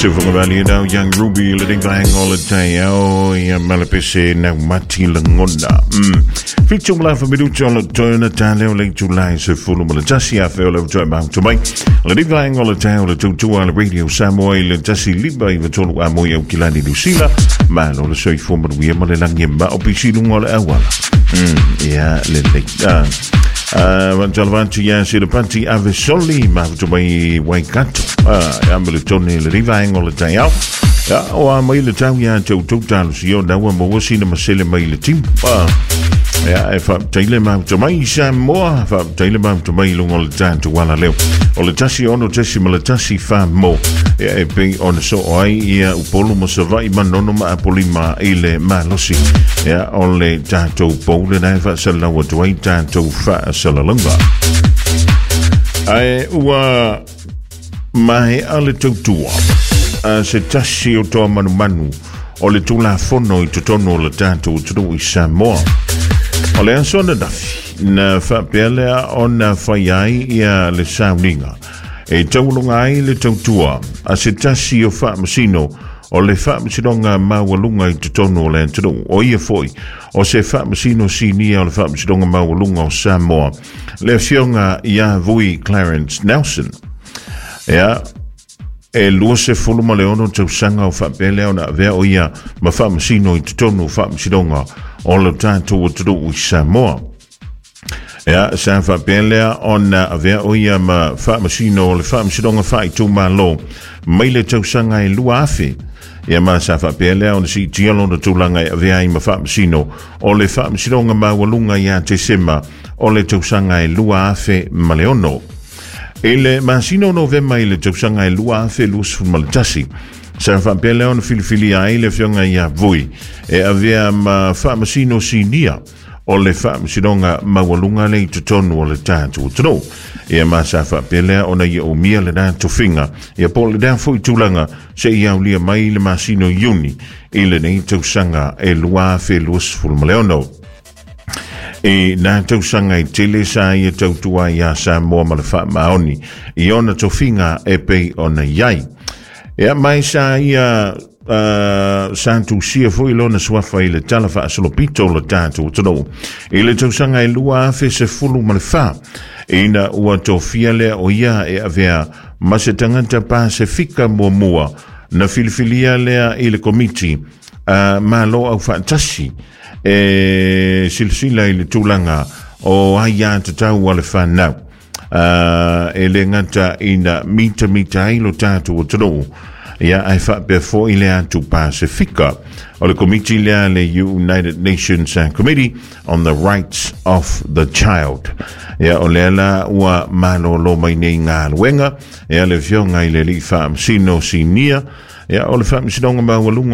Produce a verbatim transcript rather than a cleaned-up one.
Sufangavali nau Young Ruby le ding bang all the day. Oh, ia malapese nau mati langona. Mm. Fitu mla fa minuto le tona tale o le July se fulu ma le tasi a feo le toi mau to mai. Le ding bang all the day o le tutua le radio Samoa i le tasi liba i vatolu a moi au kilani Lucila. Ma lo le soifua manuia ma le langi ma o pisi lunga o le awala. Mm. Ia le le. Ah. Uh, Jalvanti ia se le panti ave soli ma to mai Waikato. Ah, ia me le tone le riva engo le tai au. Ia, o a mai le tau ia te utou talo si o naua mo wasi na masele mai le timu. Ah, ia e fa teile mau to mai Samoa, fa teile mau to mai lungo le tātu wala leo. O le tasi ono tesi ma le tasi fa mo. Ia e pei ona so o ai ia upolu mo savai manono ma apolima i le malosi. Ia o le tātou poule nai fa salawa tuai tātou fa salalunga. Ai ua mahe a le tautua a se tasi o toa manumanu o le tulafono i totonu o le tātou atunuu i Samoa. O le aso ananafi na faapea lea ona fai ai ia le sauniga e taualoga ai le tautua a se tasi o faamasino o le faamasinoga maualuga i totonu o le atunuu. O ia foi o se faamasino sinia o le faamasinoga maualuga o Samoa, le afioga ia Vui Clarence Nelson. Ia, e lua se fulu ma le ono tausaga o faapea lea ona avea o ia ma faamasino i totonu o faamasinoga o le tatou atunuu i Samoa. Ia, sa faapea lea ona avea o ia ma faamasino o le faamasinoga faaitumalo mai le tausaga e lua afe. Ia ma sa faapea lea ona siitia lona tulaga e avea ai ma faamasino o le faamasinoga maualuga ia Tesema o le tausaga e lua afe ma le ono. I le masina o Novema i le tausaga e lua afe luasefulu ma le tasi, sa faapea lea ona filifilia ai le afioga ia Vui e avea ma faamasino sinia o le faamasinoga maualuga le i totonu o le tatou atunuu. Ia ma sa faapea lea ona ia umia lena tofiga ia po o lena foi tulaga seia aulia mai le masina o Iuni i lenei tausaga e lua afe luasefulu ma le ono. E nā tausaga i tele sa ia tautua iā Samoa ma le faamaoni i ona tofiga e pei ona iai. Ia mai sa ia uh, sa tusia foi lona suafa i le tala faasolopito o le tatou atunuu i le tausaga e lua afe sefulu ma le fa ina ua tofia lea o ia e avea ma se tagata Pasefika muamua na filifilia lea i le komiti uh, malo au faatasi e silasila i le tulaga o aiā tatau a le fanau uh, e le gata ina mitamita ai lo tatou atunuu ia ae faapea foi le atu Pasefika. O le komiti lea le United Nations Committee on the Rights of the Child. Ia o lea la ua malōlō mai nei galuega ia le afioga i le alii faamasino sinia ia o le faamasinoga maualuga.